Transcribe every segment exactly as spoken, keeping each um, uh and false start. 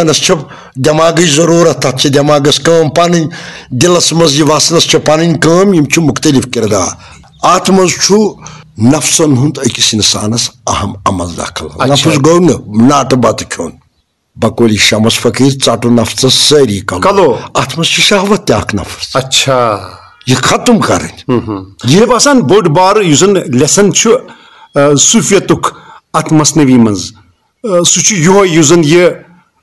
انسانس چھِ دٮ۪ماغٕچ ضروٗرت، تتھ چھِ دٮ۪ماغس کٲم پنٕنۍ، دِلس منٛز یہِ وسنس چھِ پنٕنۍ کٲم، یِم چھِ مُختٔلِف کِردار۔ اتھ منٛز چھُ نفسن ہُنٛد أکِس انسانس اہم عمل دخل۔ اچھا۔ نفس گوٚو نہٕ ناٹہٕ بتہٕ کھیوٚن، بقولِ شمس فقیٖر، ژٹُن نفسس سٲری کلو۔ کلو۔ اتھ منٛز چھِ شہوت تہِ اکھ نفس۔ اچھا۔ یہِ ختم کرٕنۍ۔ مےٚ باسان بوٚڑ بار یُس زن lesson چھُ، آ، صوفیتُک اتھ مثنوی منٛز، آ، سُہ چھُ یِہوے یُس زن یہِ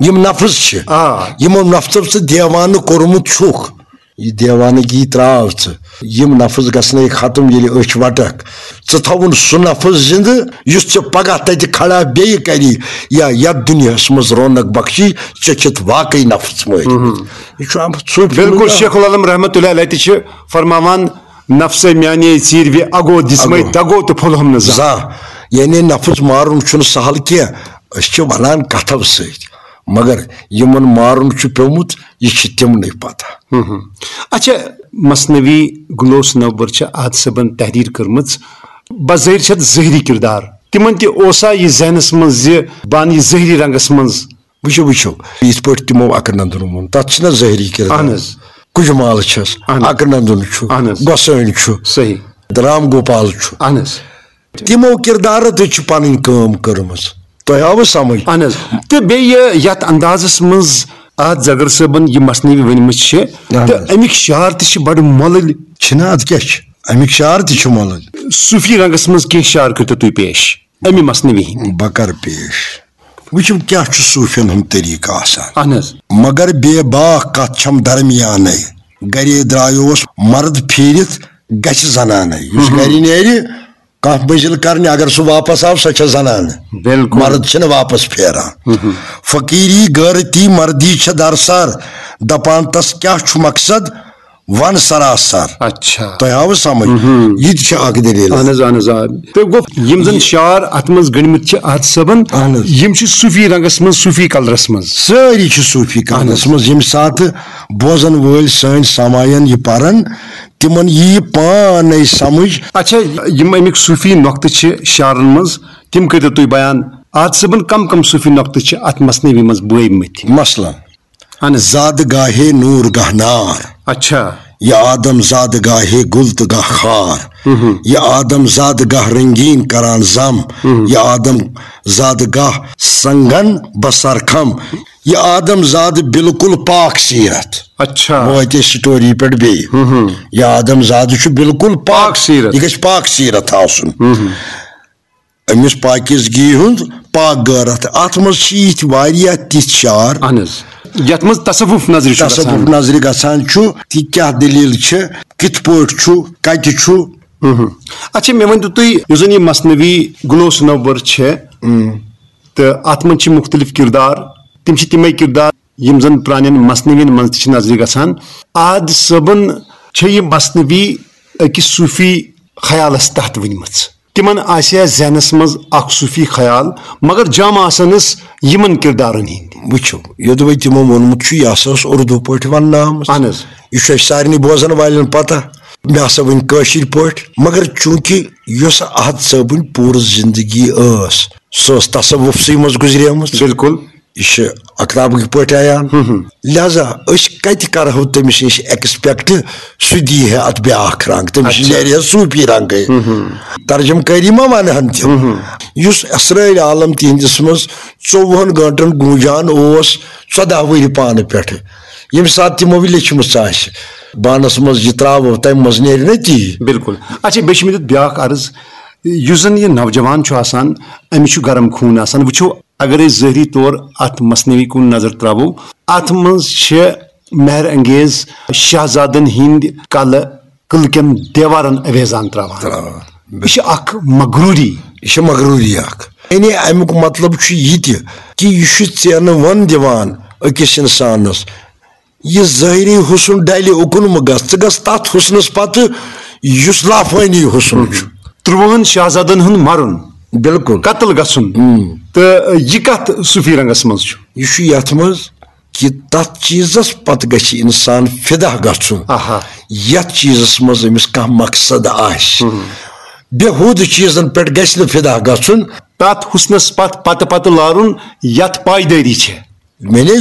یِم نفس چھِ، آ۔ یِمو نفسو ژٕ دیوانہٕ کوٚرمُت چھُکھ، یہِ دیوانگی تراو ژٕ۔ یِم نفس گژھنے ختم ییٚلہِ أچھ وٹکھ۔ ژٕ تھاوُن سُہ نفس زندٕ یُس ژےٚ پگاہ تتہِ کھڑا بیٚیہِ کری یا یتھ دُنیاہس منٛز رونق بخشی، ژےٚ چھِتھ واقعی نفس مٲرِتھ۔ یہِ چھُ آمُت صوٗفی بالکل، منٛز۔ شیخ العالم رحمتہ اللہ علیہ تہِ چھِ فرماوان، "نفسے میانے ژیٖرِ وِ اگو دِژمے اگو۔ دگو تہٕ پھوٚلہم نہٕ زانٛہہ۔" زانٛہہ۔ یعنی نفس مارُن چھُنہٕ سہل کینٛہہ۔ أسۍ چھِ ونان کتھو سۭتۍ، مگر یِمن مارُن چھُ پیومُت، یہِ چھِ تِمنٕے پتہ۔ اچھا، مثنوی گلوس نوبر چھِ احد صٲبن تحریر کٔرمٕژ، بظٲہر چھِ اتھ ظٲہری کردار۔ تِمن تہِ اوسا یہِ ذہنس منٛز زِ بہٕ انہٕ یہِ ظٲہری رنگس منٛز؟ وٕچھِو، وٕچھِو، یِتھ پٲٹھۍ تِمو اکرنندن ووٚن، تتھ چھِنہ ظٲہری کردار۔ اہن حظ۔ کُجمال چھس، اہن۔ اکرنندن چھُ، اہن حظ۔ گۄسٲنۍ چھُ، صحیح۔ رام گوپال چھُ۔ اہن حظ۔ تِمو کردارو تہِ چھِ پنٕنۍ کٲم کٔرمٕژ۔ تۄہہِ آوٕ سمجھ؟ اہن حظ۔ تہٕ بیٚیہِ یتھ اندازس منٛز اتھ زگر صٲبن یہِ مثنوی ؤنمٕژ چھِ، اہن تہٕ حظ۔ امیِکۍ شعر تہِ چھِ بڑٕ مۄلٕلۍ۔ چھِنہ، اتھ کیٛاہ چھِ؟ امیِکۍ شعر تہِ چھِ مۄلٕلۍ۔ صوفی رنگس منٛز کینٛہہ شعر کٔرتو تُہۍ پیش امہِ مثنوی ہٕنٛدۍ۔ بہٕ کرٕ پیش۔ وٕچھِو، کیٛاہ چھُ صوفین ہُنٛد طریٖقہٕ آسان۔ اہن حظ۔ مگر بے باک کتھ چھم درمیانے، گرے درٛایوس مرد پھیٖرِتھ گژھِ زنانے۔ یُس گرِ نیرِ، کانٛہہ مٔنزِل کرنہِ، اگر سُہ واپس آو، سۄ چھےٚ زنانہٕ۔ بالکل۔ مرد چھِنہٕ واپس پھیران۔ فقیٖری غٲرتی مردی چھےٚ درسر، دپان تس کیٛاہ چھُ مقصد، ون سراسر۔ اچھا۔ تۄہہِ آوٕ سمجھ؟ یہِ تہِ چھِ اکھ دٔلیٖل۔ اہن حظ، اہن حظ، آ۔ تہٕ گوٚو، یِم زن شعر اتھ منٛز گٔنڈمٕتۍ چھِ احد صٲبن، اہن حظ۔ یِم چھِ صوفی رنگس منٛز، صوفی کلرس منٛز۔ سٲری چھِ صوفی اہن حظ۔ کلرس منٛز، ییٚمہِ ساتہٕ بوزن وٲلۍ سٲنۍ سماعین یہِ پرن، تِمن ییہِ پانے سمجھ۔ اچھا، یِم امیِکۍ صوفی نۄقطہٕ چھِ شعرن منٛز، تِم کٔرِو تُہۍ بیان۔ احد صٲبن کم کم صوفی نۄقطہٕ چھِ اتھ مثنوی منٛز بٲومٕتۍ؟ مثلاً، اہن حظ۔ زاد گاہے نور گاہ نار۔ اچھا۔ یہ آدم زاد گاہے گل تہٕ گاہ خار۔ یہ آدم زاد گاہ رنگین کران زم۔ یہ آدم زاد گاہ سنگن بسر کھم۔ یہ آدم زاد بالکل پاک سیرت۔ اچھا۔ وٲتۍ أسۍ story پٮ۪ٹھ بیٚیہِ۔ یہ آدم زاد چھُ بالکل پاک پاک سیرت۔ یہِ گژھِ پاک سیرت آسُن۔ أمِس پاکیزگی ہُنٛد پاک غٲرت۔ اتھ منٛز چھِ یِتھۍ واریاہ تِتھۍ شعر۔ اہن حظ۔ یتھ منٛز تصوف نظرِ چھُ تصوف گژھان۔ نظرِ گژھان چھُ، تہِ کیٛاہ دٔلیٖل چھِ، کِتھ پٲٹھۍ چھُ، کتہِ چھُ۔ اچھا، مےٚ ؤنۍ تو تُہۍ، یُس زن یہِ مثنوی گلوس نوبر چھِ، تہٕ اتھ منٛز چھِ مُختٔلِف کردار، تِم چھِ تِمے کردار، یِم زن پرانٮ۪ن مثنوین منٛز تہِ چھِ نظرِ گژھان۔ احد صٲبن چھےٚ یہِ مثنوی أکِس صوفی خیالس تحت ؤنمٕژ۔ تِمن آسہِ ہا ذہنس منٛز اکھ صوفی خیال، مگر جم آسنس یِمن کردارن ہٕنٛدۍ۔ وٕچھِو، یوٚدوَے تِمو ووٚنمُت چھُ، یہِ ہسا اوس اردو پٲٹھۍ وننہٕ آمُت۔ اہن حظ۔ یہِ چھُ اَسہِ سارنٕے بوزن والٮ۪ن پتہ۔ مےٚ ہسا ؤنۍ کٲشِر پٲٹھۍ، مگر چوٗنٛکہِ یۄس احد صٲبٕنۍ پوٗرٕ زندگی ٲس، سۄ ٲس تصوفسٕے منٛز گُزریمٕژ۔ بالکل۔ یہِ چھِ اقرابٕکۍ پٲٹھۍ عیان۔ لہذا أسۍ کتہِ کرہو تٔمِس نِش expect، سُہ دی ہے اتھ بیاکھ رنگ، تٔمِس اچھا۔ نیرِ ہے صوفی رنگے۔ ترجمہٕ کٲری ما ونہٕ ہن تِم؟ یُس اسرٲرۍ عالم تِہنٛدِس منٛز ژوٚوُہن گٲنٛٹن گوٗنجان اوس، ژۄداہ ؤری پانہٕ پٮ۪ٹھٕ، ییٚمہِ ساتہٕ تِمو یہِ لیٚچھمٕژ آسہِ، بانس منٛز یہِ ترٛاوو، تمہِ منٛز نیرِ نہ تی۔ بالکل۔ اچھا، بیٚیہِ چھِ مےٚ دیُت بیاکھ عرض، یُس زن یہِ نوجوان چھُ آسان، أمِس چھُ گرم خوٗن آسان۔ وٕچھو، اگر أسۍ ظٲہری طور اتھ مثنوی کُن نظر تراوو، اتھ منٛز چھِ مہر انگیز شہزادن ہٕنٛدۍ کلہٕ قلعہٕ کٮ۪ن دیوارن اویزان تراوان۔ تراوان۔ یہِ چھِ اکھ مغروری۔ یہِ چھِ مغروری اکھ۔ یعنی امیُک مطلب چھُ یہِ تہِ کہِ یہِ چھُ ژینہٕ وَن دِوان أکِس انسانس، یہِ ظٲہری حسن ڈلہِ اُکُن مہٕ گژھ، ژٕ گژھ تتھ حسنس پتہٕ یُس لافٲنی حسن چھُ۔ ترٛوہن شہزادن ہُنٛد مرُن، بالکل۔ قتل گژھُن۔ تہٕ یہِ کتھ صوفی رنگس منٛز چھُ؟ یہِ چھُ یتھ منٛز کہِ تتھ چیٖزس پتہٕ گژھِ انسان فدا گژھُن، آہا۔ یتھ چیٖزس منٛز أمِس کانٛہہ مقصد آسہِ۔ بے ہُد چیٖزن پٮ۪ٹھ گژھِ نہٕ فدا گژھُن۔ تتھ حسنس پتھ پتہٕ پتہٕ لارُن یتھ پایدٲری چھےٚ۔ مےٚ نے یہِ